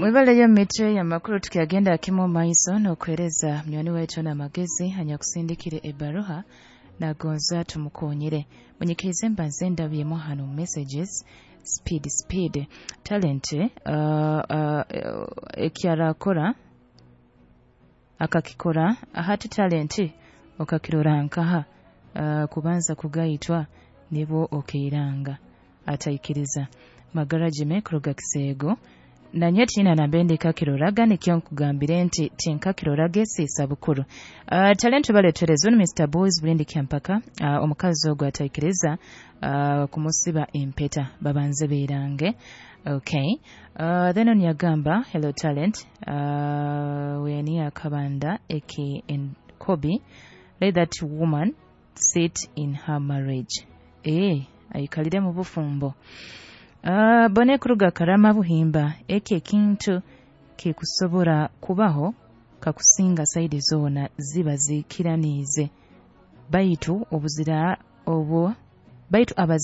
Mwebaleyo mitwe y'amakuru. Tukyagenda kimu omu maiso n'okuheereza munywani waitu n'amagezi anyakusindikire ebbaruha, nagonza tumukonyere. Munyikirize mbanze ndabyemu hano messages. Speed, speed, Talent. Ekyarakora akakikora hati. Talent, okakirora nkaha? Kubanza kugaitwa nibwo okeiranga ataikiriza. Magara jime kuruga Kiseego, nanye tiina nambe ndikakiroraga, nikyo nkugambire nti tinkakiroraga esiisa bukuru. Talent, baletereza ni Mr Boys Bulindi Kyampaka. Omukazi ogwo ataikiriza kumusiba empeta, babanze beerange. Okay. Then on yagamba, "Hello Talent, weni akabanda eki in Kobe, let that woman sit in her marriage." Aikalire mu bufumbo. Bone kuruga Karama Buhimba, eki ekintu kikusobora kubaho kakusinga side zoona ziba zikiraniize, baitu obuzira obwo baitu.